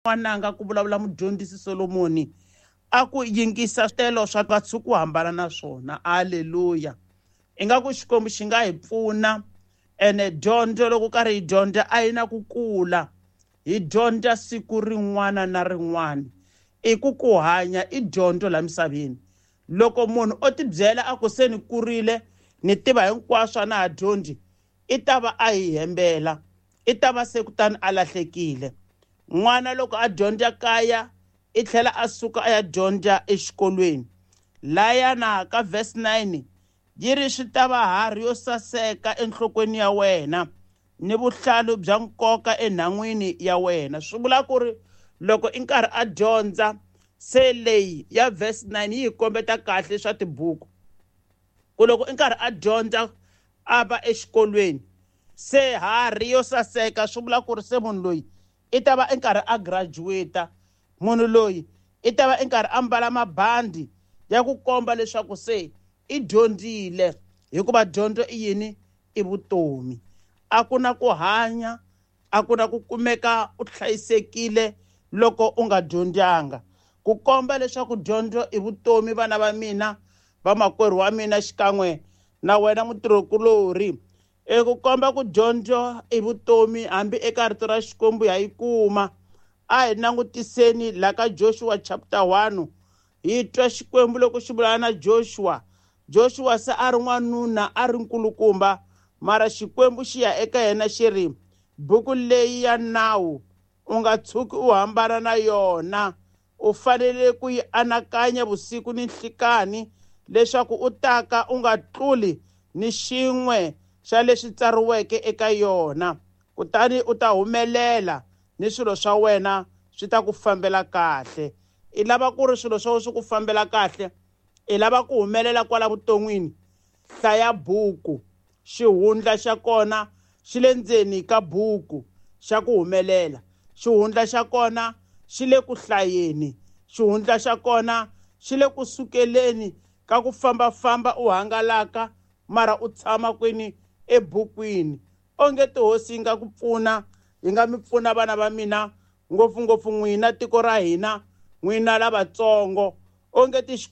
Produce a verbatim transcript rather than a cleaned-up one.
N'wananga, ku vulavula mudyondzisi Solomoni, a ku yingisa switelo swa va tshuku hambana na swona. Aleluya. Ingaku Xikwembu xi nga hi pfuna. Ene dyondzo, loko karhi hi dyondza, a yi na ku kula, hi dyondza siku rin'wana na rin'wana. I ku ku hanya i dyondzo laha misaveni. Loko munhu o tibyela a ku se ni kurile, ni tiva hinkwaswo, a na ha dyondzi, i ta va a hi hembela, i ta va se kutani a lahlekile. N'wana loko a dyondza kaya, i tlhela a suka a ya dyondza exikolweni. Layana ka verse nine yi ri, swi ta va harhi yo saseka enhlokweni ya wena ni vuhlalu bya nkoka enhan'wini ya wena. Swi vula ku ri loko i nkarhi a dyondza, se leyi ya verse nine yi hi kombeta kahle swa tibuku, ku loko i nkarhi a dyondza, a va exikolweni, se harhi yo saseka, swi vula ku ri se munhu loyi i ta va i nkarhi a graduate. Munhu loyi i ta va i nkarhi a mbala mabandi ya ku komba leswaku se i dyondzile, hikuva dyondzo i yini? I vutomi. A ku na ku hanya, a ku na ku kumeka u hlayisekile loko u nga dyondzanga. Ku komba leswaku dyondzo i vutomi, vana va mina, vamakwerhu wa mina, xikan'we na wena mutirhikulorhi, e ku komba ku dyondzo i vutomi, hambi eka rito ra Xikwembu ha yi kuma. A hi langutiseni la ka Joshua chapter one, hi twa Xikwembu loko xi vulavula na Joshua. Joshua se a ri n'wanuna, a ri nkulukumba, mara Xikwembu xi ya eka yena xi ri, buku leyi ya nawu u nga tshuki u hambana na yona, u fanele ku yi anakanya vusiku ni nhlikani, leswaku u taka u nga tluli ni xin'we xa leswi tsariweke eka yona, kutani u ta humelela ni swilo swa wena swi ta ku fambela kahle. I lava ku ri swilo swa wena swi ku fambela kahle, i lava ku humelela kwala vuton'wini, hlaya buku. Xihundla xa kona xi le ndzeni ka buku xa ku humelela. Xihundla xa kona xi le ku hlayeni. Xihundla xa kona xi le ku sukeleni ka ku fambafamba u hangalaka, mara u tshama kwini? Ebukwini. Onge tihosi yi nga ku pfuna, yi nga mi pfuna vana va mina, ngopfungopfu n'wina tiko ra hina, n'wina lavatsongo. Onge ti Xikwembu xi